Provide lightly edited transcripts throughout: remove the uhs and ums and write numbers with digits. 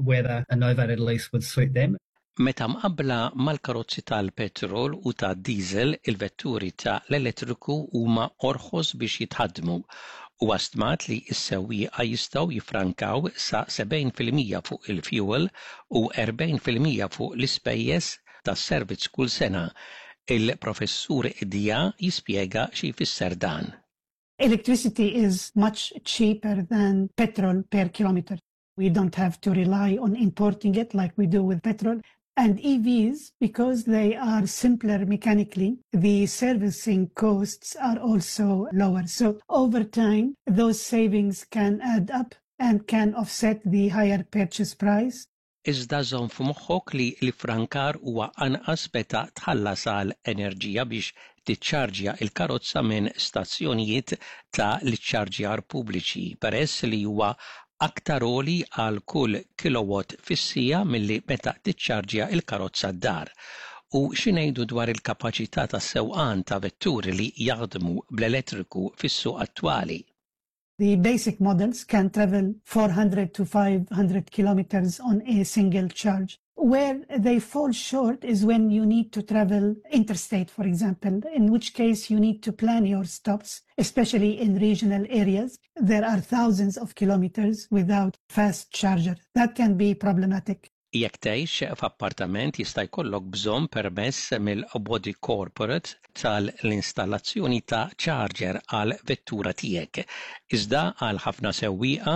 whether a novated lease would suit them. Meta mqabbla mal-karozzi tal-petrol u tad-diesel, il-vetturi ta' l-elettriku huma orħos biex jitħaddmu. Huwa stmat li s-sewwieqa jistgħu jiffrankaw sa 70% fuq il-fjuwil u 40% fuq l-ispejjeż tas-servizz kull sena. Il-Professur Dia jispjega xi jfisser dan. Electricity is much cheaper than petrol per kilometer. We don't have to rely on importing it like we do with petrol. And EVs, because they are simpler mechanically, the servicing costs are also lower. So over time, those savings can add up and can offset the higher purchase price. Iżda żomm f'moħħok li l-iffrankar huwa anqas meta tħallas għal enerġija biex tiċċarġja l-karozza minn stazzjonijiet ta' l-iċċarġjar pubbliċi, peress li huwa aktar għoli għal kull kilowatt fis-siegħa milli meta tiċċarġja l-karozza d-dar. U xi ngħidu dwar il-kapaċità tas-sewqan ta' vetturi li jaħdmu bl-elettriku fis-suq attwali? The basic models can travel 400 to 500 kilometers on a single charge. Where they fall short is when you need to travel interstate, for example, in which case you need to plan your stops, especially in regional areas. There are thousands of kilometers without fast charger. That can be problematic. Jekk tgħix f'appartament jista' jkollok bżonn permess mill-body corporate tal-installazzjoni ta' charger għall-vettura tiegħek. Iżda għal ħafna sewwieqa,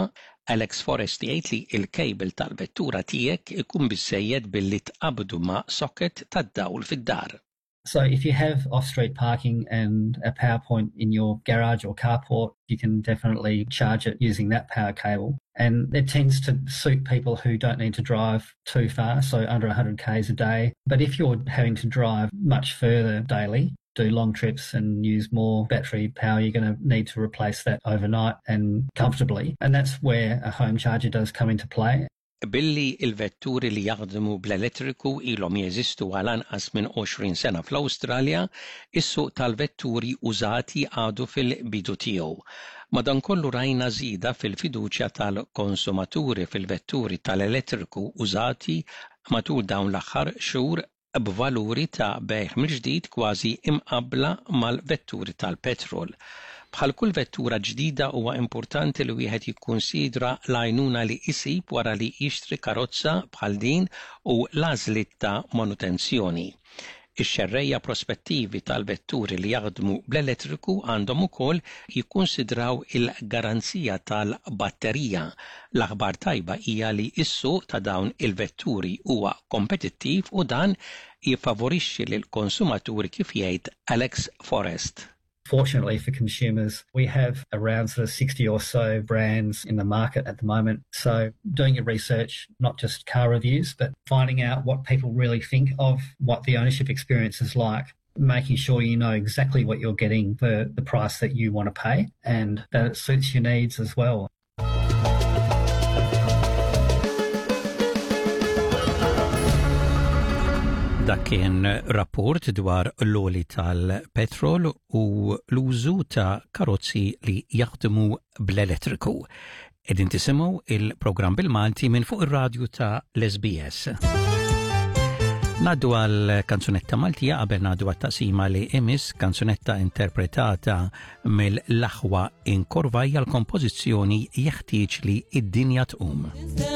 Alex Forrest jgħid li l-cable tal-vettura tiegħek ikun biżżejjed billi tqabbdu ma' socket tad-dawl fid-dar. So if you have off-street parking and a power point in your garage or carport, you can definitely charge it using that power cable. And it tends to suit people who don't need to drive too far, so under 100 k's a day. But if you're having to drive much further daily, do long trips and use more battery power, you're going to need to replace that overnight and comfortably. And that's where a home charger does come into play. Billi l-vetturi li jaħdmu bl-elettriku ilhom jeżistu għal anqas minn 20 sena fl-Awstralja, is-suq tal-vetturi użati għadu fil-bidu tiegħu. Madankollu rajna żieda fil-fiduċja tal-konsumaturi fil-vetturi tal-elettriku użati matul dawn l-aħħar xhur b'valuri ta' bejgħ mill-ġdid kważi imqabbla mal-vetturi tal-petrol. Bħal kull vettura ġdida huwa importanti li wieħed jikkunsidra l-għajnuna li jsib wara li jixtri karozza bħal din u l-għażliet ta' manutenzjoni. Ix-xerrejja prospettivi tal-vetturi li jaħdmu bl-elettriku għandhom ukoll jikkunsidraw il-garanzija tal-batterija. L-aħbar tajba hija li s-suq ta' dawn il-vetturi huwa kompetittiv u dan jiffavorixxi lill-konsumaturi kif jgħid Alex Forrest. Fortunately for consumers, we have around sort of 60 or so brands in the market at the moment. So doing your research, not just car reviews, but finding out what people really think of what the ownership experience is like making sure you know exactly what you're getting for the price that you want to pay and that it suits your needs as well. Dak kien rapport dwar l-oli tal-petrol u l-użu ta' karozzi li jaħdmu bl-elettriku. Qegħdin tisimgħu il-programm bil-Malti minn fuq ir-radju ta' l-SBS. Naddu għal kanzunetta Maltija qabel naddu għat taqsima li imis kanzunetta interpretata mill-aħwa inkorvajja l-kompożizzjoni jeħtieġ li id-dinja tqum.